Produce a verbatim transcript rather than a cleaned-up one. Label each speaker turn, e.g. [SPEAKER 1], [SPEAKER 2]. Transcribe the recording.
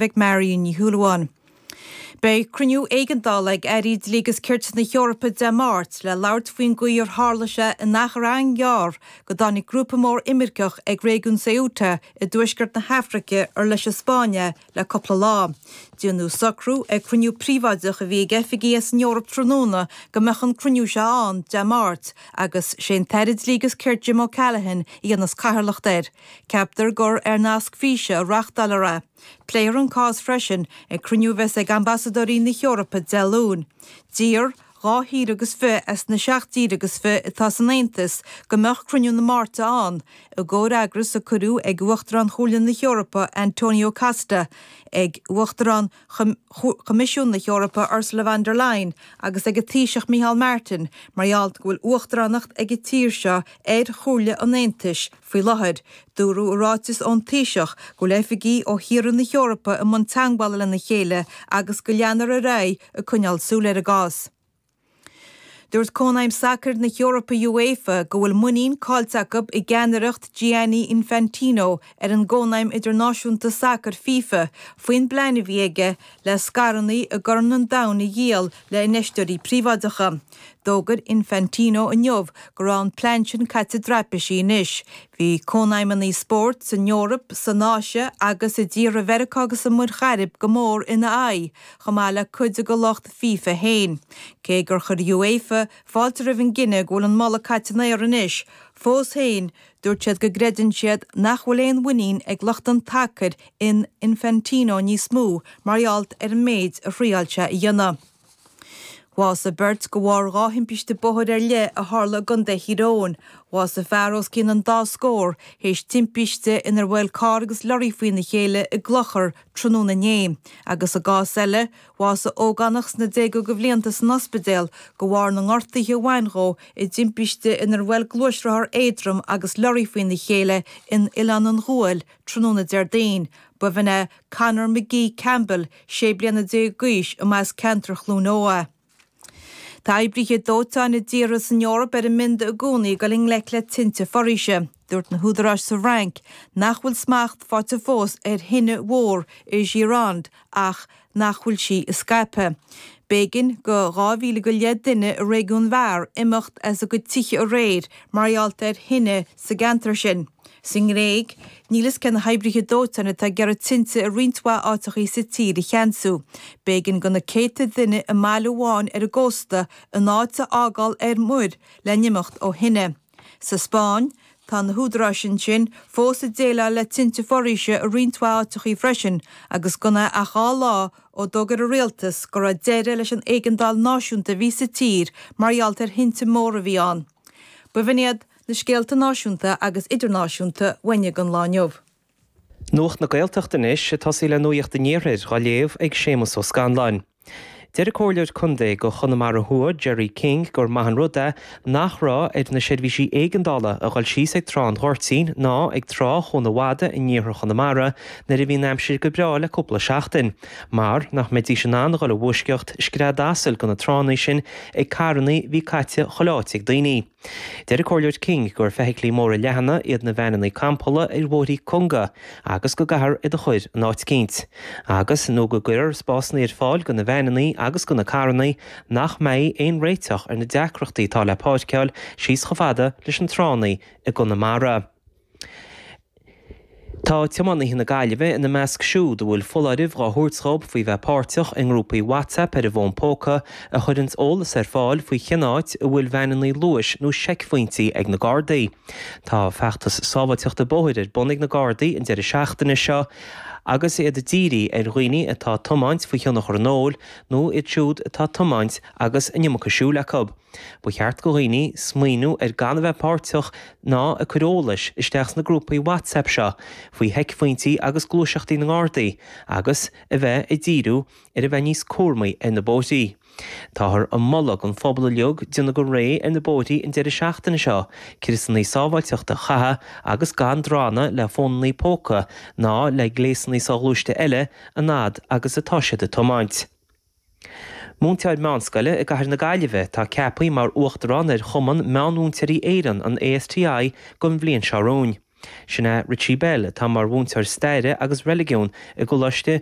[SPEAKER 1] ag Marion Ní Shúilleabháin. Beidh cruinniú éigeandála ag Airí Dlí agus Cirt na hEorpa Dé Máirt le labhairt faoin gcaoi ar tharla sé in achar an-ghearr go dtáinig grúpa mór imirceach ag réigiún Ceuta i dtuaisceart na hAfraice ar leis an Spáinn le cúpla lá. Déanadh socrú ag cruinniú príobháideach a bhí ag oifigigh as an Eoraip tráthnóna go mbeadh an cruinniú seo ann Dé Máirt agus sé an tAire Dlí agus Cirt Jim O'Callaghan a dhéanfas cathaoirleacht air. Ceaptar gur ar nasc físe a reáchtálfar é. Pléifear an cás freisin ag cruinniú a bheas ag ambasadóirí na hEorpa Dé Luain. D'iarr dhá thír agus fiche as na seacht dtír agus fiche atá san Aontas go mbeadh cruinniú na Máirte ann, i gcomhfhreagras a cuireadh ag Uachtarán Chomhairle na hEorpa Antonio Costa, ag Uachtarán Choimisiún na hEorpa Ursula von der Leyen agus ag an Taoiseach Micheál Martin mar gheall go bhfuil uachtaránacht ag an tír seo ar Chomhairle an Aontais faoi láthair. Dúradh i ráiteas ón Taoiseach go bhfuil oifigigh ó thíortha na hEorpa i mbun teagmhála lena chéile agus go leanfar ar aghaidh ag coinneáil súil ar an gcás. Dúirt Cónaidhm Sacair na hEorpa UEFA go bhfuil muinín caillte acu i gceannaireacht Gianni Infantino ar an gCónaidhm Idirnáisiúnta Sacair FIFA faoin bplean a bhí aige le scaireanna i gCorn an Domhain a dhíol le infheisteoirí príobháideacha. D'fhógair Infantino inniu go raibh an plean sin caite i dtraipisí anois. Bhí cónaidhmeanna spóirt san Eoraip, san Áise agus i dtíortha Mheiriceá agus sa Mhuir Chairib go mór ina aghaidh, chomh maith le cuid de lucht FIFA féin. Cé gur chuir UEFA fáilte roimh an gcinneadh go bhfuil an moladh caite in aer anois, fós féin dúirt siad go gcreideann siad nach bhfuil aon mhuinín ag lucht an tsacair in Infantino níos mó mar gheall ar an méid a thriáil sé a dhéanamh. Bhásaigh beirt de bharr dhá thimpiste bóthair ar leith a tharla i gContae Thír Eoghain. Bhásaigh fear os cionn an dá scór théis timpiste inar bhuail carr agus lorry faoina chéile i gClochar tráthnóna inné. Agus i gcás eile, bhásaigh ógánach sna déaga de bhlianta san ospidéal de bharr na ngortuithe a bhain dhó i dtimpiste inar bhuail gluaisrothar éadrom agus lorry faoina chéile in Oileán an Ghuail tráthnóna Déardaoin. B'in é Conor McGee Campbell, sé bliana déag d'aois, a mba as ceantar Chluain Eo. Tá oibrithe dóiteáin i dtíortha san Eoraip ar a mbionda i gcónaí ag dul i ngleic le tinte foraoise. Dúirt na húdaráis sa Fhrainc nach bhfuil smacht faighte fós ar thine mhór i Gironde ach nach bhfuil sí ag scaipeadh. B'éigean do dhá mhíle go leith duine i réigiún Var imeacht as a gcuid tithe aréir mar gheall ar thine sa gceantar sin. Sa nGréig, níl fhios cé na hoibrithe dóiteáin atá ag iarraidh tinte i roinnt mhaith áiteachaí sa tír a cheansú. B'éigean do na céadta duine i mbaile amháin ar an gcósta a n-áit a fhágáil ar muir le n-imeacht ó thine. Sa Spáinn, tá na húdaráis ansin fós ag déileáil le tinte foraoise i roinnt mhaith áiteachaí freisin agus gan é ach dhá lá ó d'fhógair an rialtas go raibh deireadh leis an éigeandáil náisiúnta a bhí sa tír mar gheall ar thinte móra a bhí ann. B'in iad na scéalta náisiúnta agus idirnáisiúnta uainne don lá inniu.
[SPEAKER 2] Nuacht na Gaeltachta anois ag tosaí le Nuacht an Iarthair á léamh ag Séamus Ó Scanláin. Deir an Comhairleoir Contae do Chonamara Thuaidh Gerry King gur maith an rud é nach raibh ar na seirbhísí éigeandála a dhul síos ag Trá an Ghoirtín ná ag Trá Chuan Mhada in iarthar Chonamara nuair a bhí an aimsir go breá le cúpla seachtain, mar nach mbeidís in ann a dhul i bhfoisceacht scread asail go na tránna sin ag carranna bhí caite chuile áit ag daoine. Deir an Comhairleoir King gur feithiclí móra leathana iad na veaineanna campála ar bhóithrí cunga agus go gcaithfear iad a chur in áit eicínt, agus nó go gcuirfear spásanna ar fáil do na veaineanna agus do na carranna nach mbeidh aon réiteach ar na deacrachtaí atá le páirceáil síos chomh fada leis an tránna i gConamara. Tá tiománaithe na Gaillimhe ina measc siúd a bhfuil foláireamh á thabhairt dóibh faoi bheith páirteach i ngrúpaí WhatsApp ar an bhfón póca a chuireanns eolas ar fáil faoi cén áit a bhfuil veaineanna luais nó seicphointí ag na Gardaí. Tá feachtas sábháilteachta bóthair ar bun ag na Gardaí an deireadh seachtaine seo agus iad ag díriú ar dhaoine atá ag tiomáint faoi thionchar an óil nó iad siúd atá ag tiomáint agus an iomarca siúil acu. Ba cheart do dhaoine smaoineamh ar gan a bheith páirteach ná ag cur eolais isteach sna grúpaí WhatsApp seo faoi sheicphointí agus gluaiseachtaí na nGardaí agus a bheith ag díriú ar a bheith níos cúramaí ar na bóithrí. Táthar ag moladh don phobal uilig déanamh go réidh ar na bóithrí an deireadh seachtaine seo, criosanna sábháilteachta a chaitheamh agus gan drannadh le fónanna póca ná le gléasanna soghluaiste eile an fhad agus atá siad ag tiomáint. Múinteoir meánscoile i gcathair na Gaillimhe atá ceaptha mar uachtarán ar Chumann Meánmhúinteoirí Éireann, an ASTI, don bhliain seo romhainn. Sin é Richie Bell atá mar mhúinteoir staire agus reiligiún i gColáiste